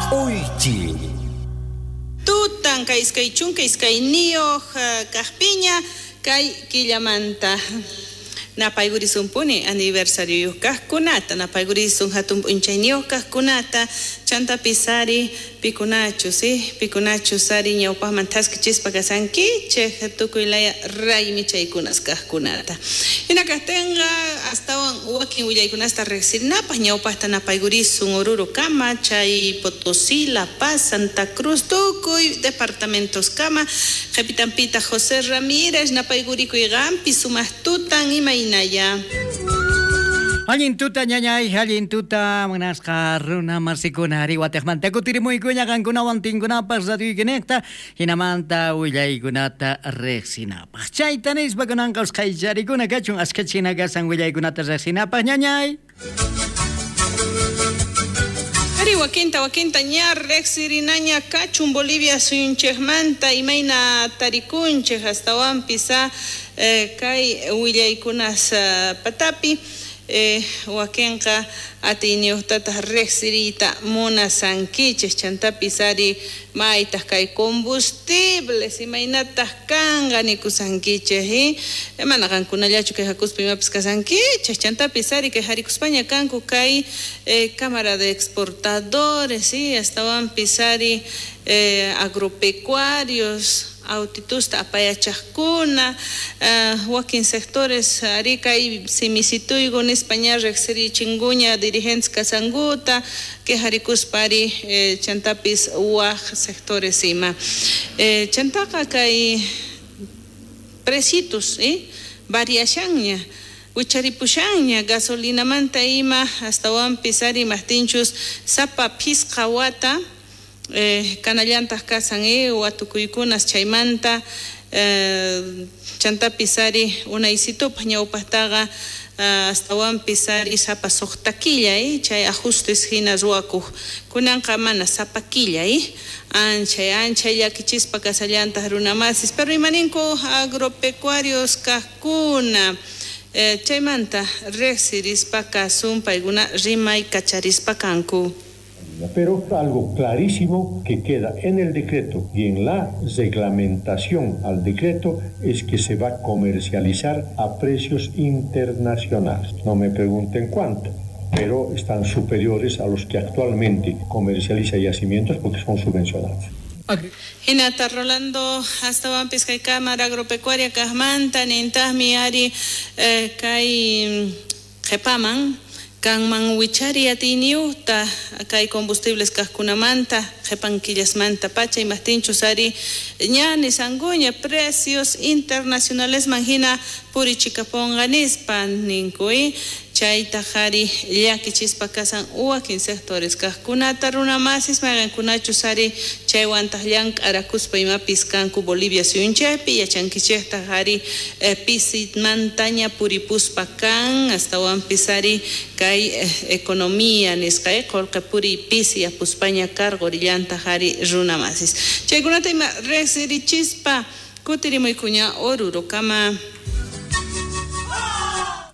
K'uychi. Tutan kay 22 kajpiña kay killamanta napaygurisumpuni aniversarioyuq kaqkunata, napaygurisun hatun p'unchayniyuq kaqkunata, chantapis ari pikunachus, pikunachus ari ñawpaqman thaskichispa kasankichej tukuy laya raymi chaykunas kaqkunata. Hina kaqtinqa astawan wakin willaykunasta riqsirinapaq ñawpaqta napaygurisun Oruro kama, chay Potosí, La Paz, Santa Cruz, tukuy departamentos kama, qhipitanpitaq José Ramírez napaygurikuy qampi sumaq tutan imaynaya. Allin tuta ñañay, allin tuta munasqa runa masikuna ari wataqmanta kutirimuykuña qankunawan tinkunapaq radioykinejta hinamanta willaykunata riqsinapaq. Chayta nispa kunanqa usqhayllarikuna kachun ashkhachina kasan willaykunata riqsinapaq ñañay. Ari wakinta wakinta ña riqsirinaña kachun Bolivia suyunchikmanta imayna tarikunchik astawanpis kay willaykunas patapi. Wakinqa atiyniyuqtataq riqsiriyta munasankichik chantapis ari maytaq kay combustibles imaynataq kanqa nikusankichik, mana qankunallachu quejakuspa imapis kasankichik chantapis ari quejarikuspaña kanku kay Cámara de Exportadores, astawanpis ari agropecuarios autitusta apayachaqkuna, wakin sectores ari kay simisituyku nispa ña riqsirichinkuña dirigentes kasankuta quejarikuspa ari chantapis waj sectores ima. Chantaqa kay precitos variashanña wicharipushanña gasolinamanta ima astawanpis ari imajtinchus sapa phisqa wata kanallantaq kasan watukuykunas chaymanta chantapis ari unaysitupaq ñawpaqtaqa astawanpis ari sapa suqta killa chay ajustes hina ruwakuq kunanqa mana sapa killa anchay anchay llakichispa kasallantaq runamasis pero imaninku agropecuarios kaqkuna chaymanta riqsirispa kasun paykuna rimay kacharispa kanku. Pero algo clarísimo que queda en el decreto y en la reglamentación al decreto es que se va a comercializar a precios internacionales. No me pregunten cuánto, pero están superiores a los que actualmente comercializa yacimientos porque son subvencionados. Hinata Rolando astawanpis kay Cámara Agropecuaria kaqmanta nintaqmi ari kay qhipaman kanman wichari atiyniyuqta kay combustibles kaqkunamanta qhipan killasmanta pacha imajtinchus ari ña nisankuña precios internacionalesman hina purichikapunqa nispa ninku chaytaq ari llakichispa kasan wakin sectores kaqkunata runamasis mayqankunachus ari chaywantaq llank'arakuspa imapis kanku Bolivia suyunchaypi yachankichiktaq ari pisimantaña puripuspa kan astawanpis ari kay economía nisqa qullqi puriy pisi yapuspaña karqurillantaq ari runamasis chaykunata ima riqsirichispa kutirimuykuña Orurokama.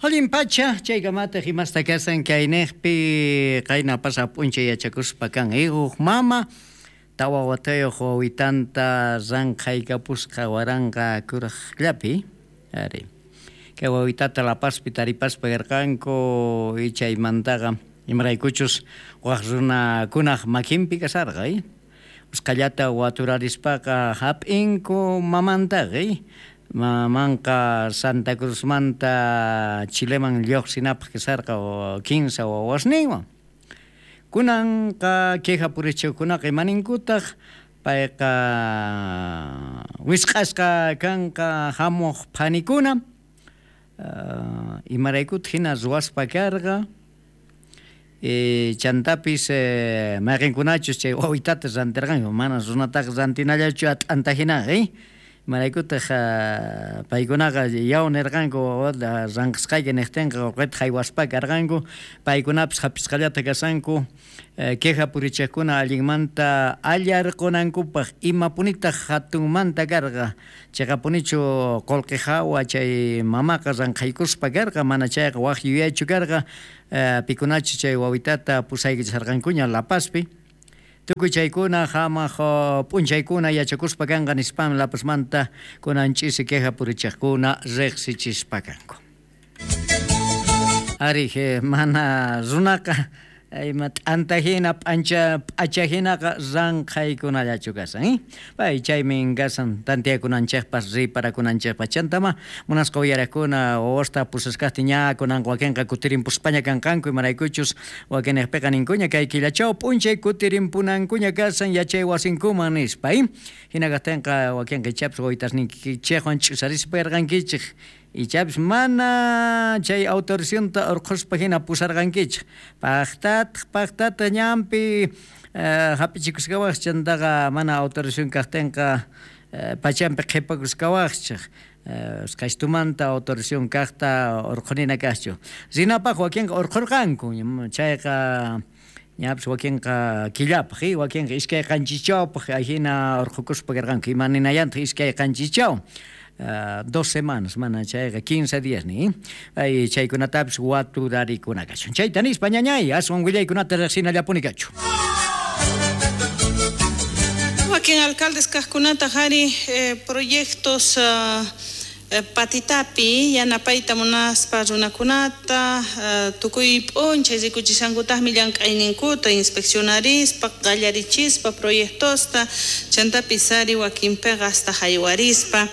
Allin pacha chaykamataq imasta kasan kaynejpi qayna pasa p'unchay yachakuspa kan huk mama tawa watayuq wawitanta ranqhaykapusqa waranqa kuraqllapi ari kay wawitata La Pazpi taripaspa karqanku chaymantaqa imaraykuchus waq runakunaq makinpi kasarqa usqhallata waturarispaqa hap'inku mamantaqa mamanqa Santa Cruzmanta Chileman lluqsinapaq kasarqa 15 wawasninwan kunanqa queja purichiqkunaqa imaninkutaq payqa wisq'asqa kanqa hamuq phanikuna imaraykutaq hina ruwaspa karqa chantapis mayqinkunachus chay wawitata rantirqanku mana runataqa rantinallachu at'anta hinaqa imaraykutaq paykunaqa yaw nirqanku ranqisqayki niqtinqa qullqita haywaspa karqanku paykunapis hapisqallata kasanku queja purichiqkuna allinmanta allarqunankupaq imapunitaq hatunmanta karqa chayqapunichu qullqi hawa chay mamaqa ranqhaykuspa karqa mana chayqa waq yuyaychu karqa pikunachu chay wawitata pusaykichisarqankuña La Pazpi. Tukuy chaykuna hamaq p'unchaykuna yachakuspa kanqa nispam La Pazmanta kunan ch'isi queja purichiqkuna riqsichispa kanku. Ari, mana runaqa ima t'anta hina p'ancha p'acha hinaqa ranqhaykunallachu kashan, pay chaymin kashan tantiyakunanchikpas riparakunanchikpas. Chantama munasqa uyariqkuna wawasta pusasqaqtin ña kunanqa wakinqa kutirinpuspaña kanqanku, imaraykuchus wakinniqpiqa ninkuña kay killachaw p'unchay kutirinpunankuña kashan yachay wasinkuman nispa, hina kaqtinqa wakinqa ichapis wawitashninkichikwan ch'usarispa yarqankichik, ichapis mana chay autorizacionta urqhuspa hina pusarqankichik, paqtataq paqtataq ñanpi hap'ichikusqawaqchik, chantaqa mana autorización kaqtinqa pachanpi qhipakusqawaqchik, usqhaytumanta autorización kaqta urqhunina kaqchu. Rinapaq wakinqa urqhurqanku, chayqa ñapis wakinqa killapaq, wakinqa 2 qanchischawpaq ahina urqhukuspa karqanku, ima ninayantaq 2 qanchichaw. 2 semanas mana chayqa 15 días ni ay chaykunatapis waturarikuna kachun. Chayta nispa ñañay aswan willaykunata riqsinallapuni kachu. Wakin alcaldes kaqkunata hari proyectos patitapi yanapayta munaspa runakunata tukuy p'unchay rikuchishankutaqmi llank'ayninkuta inspeccionarispa qallarichispa proyectosta chantapis ari wakinpiqa hasta haywarispa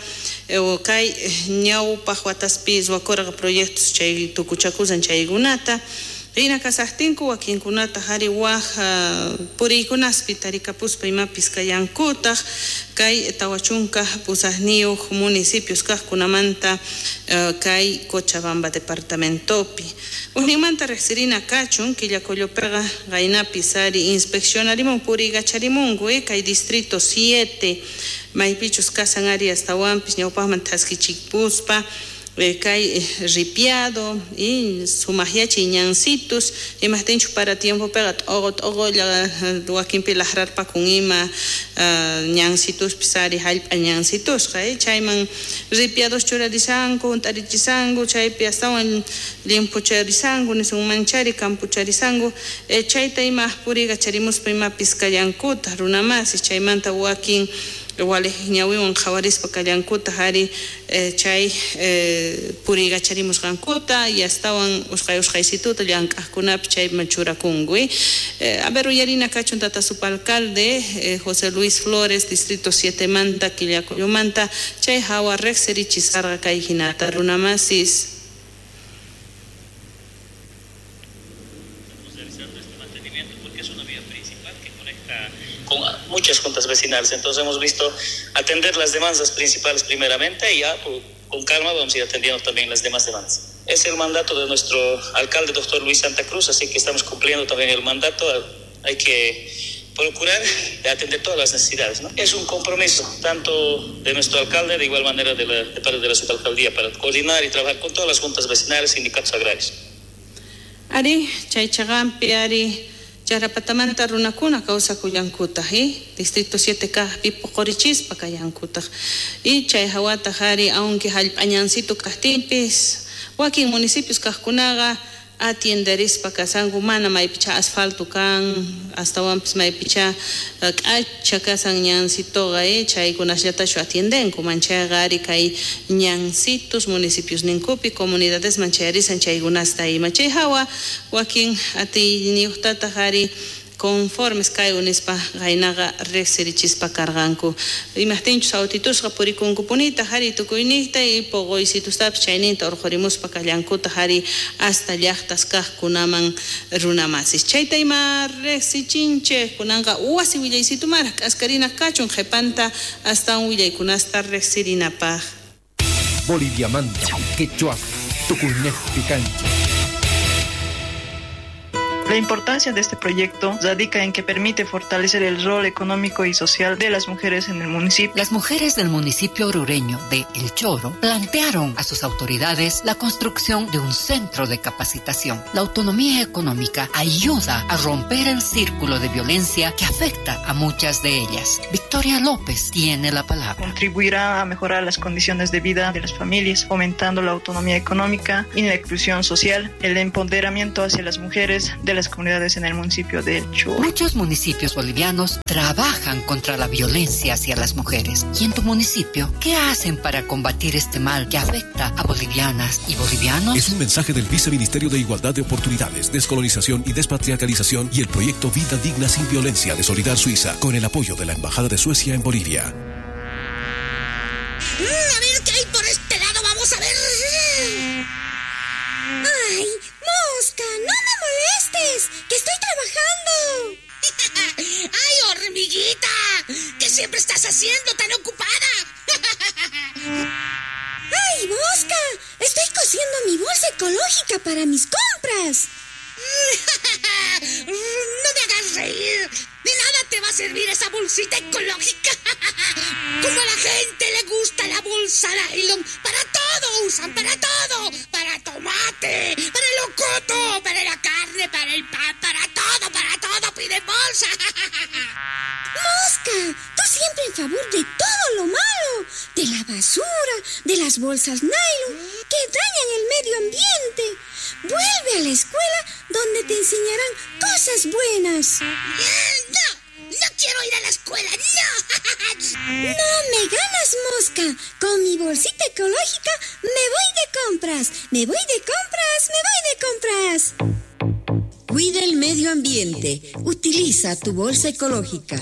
kay ñawpaq wataspi ruwakurqa proyectos chay tukuchakusan chaykunata rina kasaqtinku wakinkunata hari waj puriykunaspi tarikapuspa imapis kallankutaq kay 48 municipios kaqkunamanta kay Cochabamba departamentopi. Ujninmanta riqsirina kachun Quillacollopiqa qaynapis ari inspeccionarimun puriykacharimunku kay distrito 7 maypichus kasan ari astawanpis ñawpaqman thaskichipuspa kay ripiado y sumaqyachiy ñansitus imaqtinchus para tiempopiqa t'uqu t'uqulla wakinpi laqrarpakun ima ñansituspis ari hallp'a ñansitusqa chayman ripiados churarisanku hunt'arichisanku chaypi astawan llimpucharisanku nisunmanchari campucharisanku chayta ima puriykacharimuspa imapis kallankutaq runamasis chaymanta wakin walej ñawiwan qhawarispa kallankutaq ari chay puriykacharimusqankuta y astawan usqhay usqhaysituta llank'aqkunapi chayman churakunku. A ver, uyarina kachun tata subalcalde José Luis Flores, distrito 7 manta Quillacollomanta, chay hawa riqsirichisarqa kay hinata runamasis. Realizando este mantenimiento porque es una vía principal que conecta con muchas juntas vecinales. Entonces hemos visto atender las demandas principales primeramente y ya con calma vamos a ir atendiendo también las demás demandas. Es el mandato de nuestro alcalde, doctor Luis Santa Cruz, así que estamos cumpliendo también el mandato. Hay que procurar de atender todas las necesidades, ¿no? Es un compromiso tanto de nuestro alcalde, de igual manera de parte de la subalcaldía, para coordinar y trabajar con todas las juntas vecinales, sindicatos agrarios. Ari, chay chaqanpi ari Charapatamanta runakuna kawsakullankutaq, distrito 7 kaqpi puqurichispa kallankutaq y chay hawataq ari aunque hallp'añansito kaqtinpis wakin municipios kaqkunaqa atienderispa kasanku mana maypicha asfalto kan astawanpis maypicha k'acha kasan ñansitoqa chaykunasllatachu atiendenku manchayqa ari kay ñansitos municipios ninkupi comunidadesman chayarisan chaykunasta ima chay hawa wakin atiyniyuqtataq ari conformes kay nispa qaynaqa riqsirichispa karqanku imaqtinchus autitusqa purikunkupunitaq ari tukuyniqta y puquysitustapis chayninta urqhurimuspa kallankutaq ari hasta llaqtas kaqkunaman runamasis chayta ima riqsichinchik kunanqa wasi willaysitumara k'askarina kachun qhipanta astawan willaykunasta riqsirinapaq. Boliviamanta, quechua, tukuynejpi kanchik. La importancia de este proyecto radica en que permite fortalecer el rol económico y social de las mujeres en el municipio. Las mujeres del municipio orureño de El Choro plantearon a sus autoridades la construcción de un centro de capacitación. La autonomía económica ayuda a romper el círculo de violencia que afecta a muchas de ellas. Victoria Victoria López tiene la palabra. Contribuirá a mejorar las condiciones de vida de las familias, fomentando la autonomía económica y la inclusión social, el empoderamiento hacia las mujeres de las comunidades en el municipio de El Choro. Muchos municipios bolivianos trabajan contra la violencia hacia las mujeres. ¿Y en tu municipio qué hacen para combatir este mal que afecta a bolivianas y bolivianos? Es un mensaje del Viceministerio de Igualdad de Oportunidades, Descolonización y Despatriarcalización y el proyecto Vida Digna sin Violencia de Solidar Suiza, con el apoyo de la Embajada de Suecia en Bolivia. A ver qué hay por este lado, vamos a ver. ¡Ay, mosca! ¡No me molestes! ¡Que estoy trabajando! ¡Ay, hormiguita! ¿Qué siempre estás haciendo tan ocupada? ¡Ay, mosca! Estoy cosiendo mi bolsa ecológica para mis compras. ¡No me hagas reír! ¡De nada te va a servir esa bolsita ecológica! Como a la gente le gusta la bolsa nylon, para todo usan, para todo. Para tomate, para el locoto, para la carne, para el pan, para todo piden bolsa. ¡Mosca! Tú siempre en favor de todo lo malo, de la basura, de las bolsas nylon que dañan el medio ambiente. Vuelve a la escuela donde te enseñarán cosas buenas. ¡No! ¡No quiero ir a la escuela! ¡No! ¡No me ganas, mosca! Con mi bolsita ecológica me voy de compras. Me voy de compras, me voy de compras. Cuida el medio ambiente. Utiliza tu bolsa ecológica.